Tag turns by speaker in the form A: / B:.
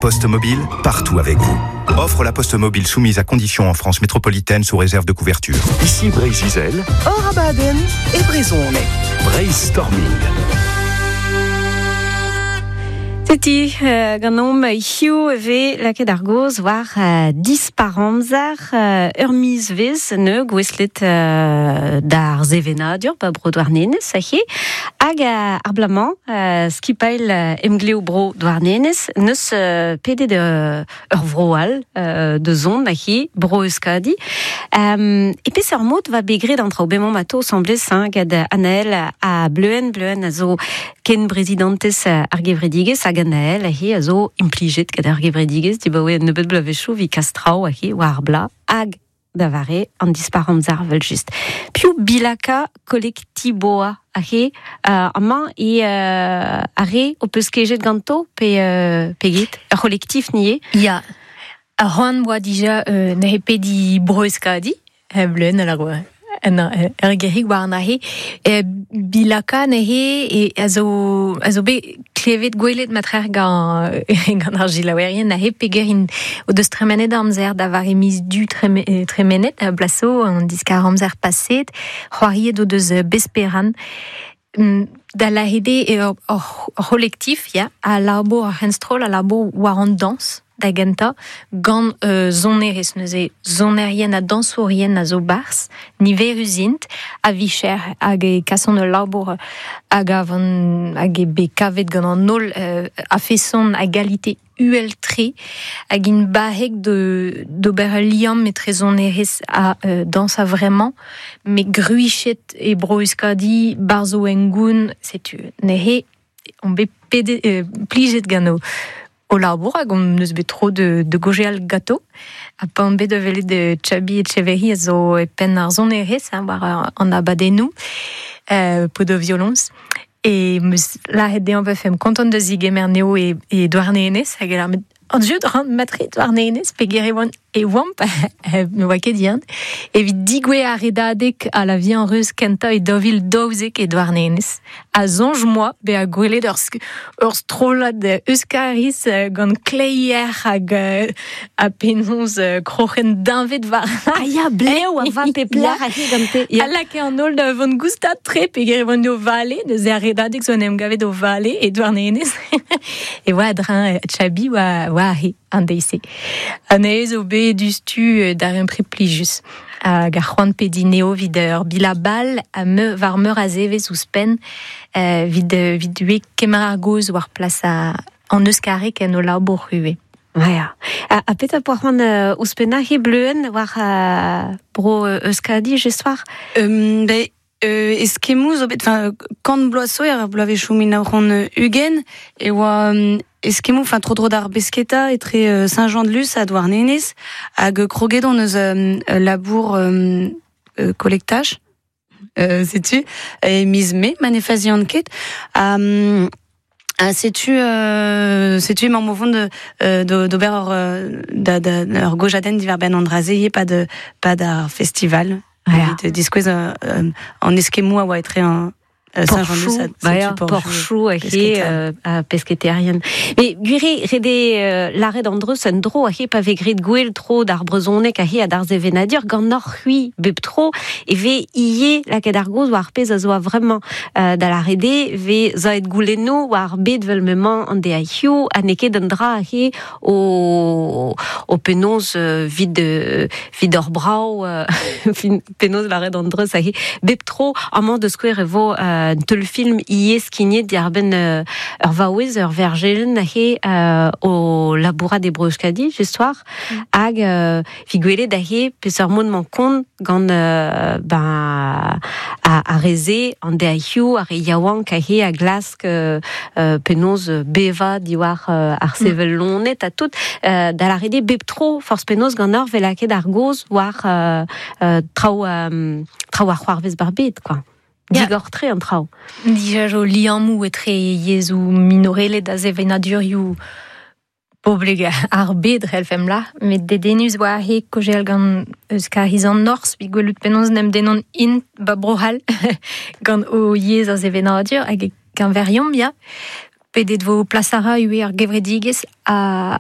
A: Poste Mobile, partout avec vous. Offre la Poste Mobile soumise à condition en France métropolitaine sous réserve de couverture.
B: Ici Breizh-Izel.
C: Hor abadenn e brezhoneg.
B: Breizhstorming.
D: Setu ganeomp hiziv e vez lakaet ar gaoz war dispar-amzer ur mizvezh neu gouestlet d'ar sevenadur ba bro Douarnenez aze hag ar bloaz-mañ skipailh Emglev Bro Douarnenez neus pedet ur vro all da zont aze Bro Euskadi. E peseurt mod va bet graet an traoù bemañ ma to asambles hein, gant Anaël ha Bleuenn. Bleuenn a zo ken brezidantez ar gevredigezh hag Anaël aze a zo implijet gant ar gevredigezh dibaoe un nebeud bloavezhioù evit kas traoù aze war ar bloaz hag da vare an dispar-amzer evel-just. Piv bilaka kolektiboa aze amañ e ar re ho peus kejet ganto pe pe get? Ur c'holektif ni eo?
E: Ya, ar c'hoant 'oa dija neuze pediñ Bro-Euskadi, Bleun a lâro ur gerig warnahe. Bilaka neuze e a zo a zo bet klevet gwelet matrec'h gant gant ar selaouerien aze peger int o deus tremenet amzer da vare miz Du tremenet blaso an diskar-amzer paseet. C'hoariet o deus Besperan. Da lâret eo ur c'holektif ya, a labour ar c'henstroll a labour war an dañs da gentañ gant sonerezh neuze sonerien ha dañsourien a zo 'barzh niverus int a-vicher hag e kasont ul labour a gavan hag eo bet kavet gant an holl a-feson a galite uhel-tre hag int barrek d'ober ul liamm etre sonerezh ha dañs a-vremañ met gwriziet e Bro-Euskadi 'barzh o hengoun setu neuze on bet pedet plijet gant o labour hag hon eus bet tro da gaozeal ganto ha pa on bet da welet Txabi Etcheverry a zo e penn ar sonerezh war an abadennoù paotr ar violoñs E 'meus lâret dezhañ 'vefemp kontant da zegemer anezho e Douarnenez hag e lâr met an jeu ran matre Douarnenez peger e oan e oamp ne oa ket Yann evit digouezhañ ar redadeg a la vie en reuz kentañ e 2012 e Douarnenez ha soñj 'moa bezañ gwelet ur ur strollad Euskariz gant kleier hag ha penaos kroc'hen deñved war
D: Ah ya, blev a va pep lec'h aze gante.
E: Ya. A lakae an holl da vont goustad-tre peogwir e oant o vale, neuze ar redadeg zo en em gavet o vale e Douarnenez. e oa a-dreñv Tchabi oa, oa aze an deiz-se. Anezhe zo bet diouzhtu darempred plijus. Hag ar c'hoant pediñ neo evit ur bilabal ha meur, war meur a zevezh ouzhpenn evit, evit ivez kemer ar gaoz war plas an euskareg en o labour ivez.
D: Ya. Ha petra poa c'hoant ouzhpennañ he bleuenn war bro Euskadi just war?
F: Ben, eskemmoù zo bet, enfin, kant bloaz zo, er bloavezhioù 1920, e oa eskemmoù, enfin, tro-dro d'ar besketa etre Saint-Jean-de-Luz ha Douarnenez, hag kroget on eus labour kolektaj, setu, e miz Mae, ma ne fazian ket. Ha setu setu emaomp o vont d'ober ur da, da, ur gojadenn diwar-benn an dra-se ivez pad pad ar festival evit diskouez an eskemmoù a oa etre an
D: Porchoù, ba ya, porchoù he pesketaerien. Mais gwir eo ret eo lâret an dreuz un dro he pa vez graet gwell tro d'ar brezhoneg he ha d'ar sevenadur ganeoc'h-c'hwi bep tro e vez ivez lakaet ar gaoz war ar pezh a zo a-vremañ da lâret eo vez savet goulennoù war ar bed 'vel m'emañ an deiz-hiziv ha n'eo ket un dra he o o penaos 'vit 'vit hor brav penaos lâret an dreuz aze bep tro amañ da skouer e vo un teulfilm ivez skignet diàr-benn ur vaouez ur verjelenn aze o labourat e Bro-Euskadi just war hag evit gwelet aze peseurt mod 'mañ kont gant ben ar re-se an deizioù ar re yaouank aze a glask penaos bevañ diwar ar sevel loened ha tout da lâret eo bep tro forzh penaos ganeoc'h 'vez lakaet ar gaoz war traoù traoù a c'hoarvez 'bar bed quoi. Digor-tre an traoù.
E: Dija zo liammoù etre yezhoù minorelet ha sevenadurioù poblek ar bed c'hellfemp lâr, met dedennus oa he kaozeal gant Euskariz an Norzh evit gwelout penaos en em dennont int 'ba Bro-C'hall gant o yezh ha sevenadur hag e keñveriomp ya. Pedet vo plas a ra ivez ar gevredigezh a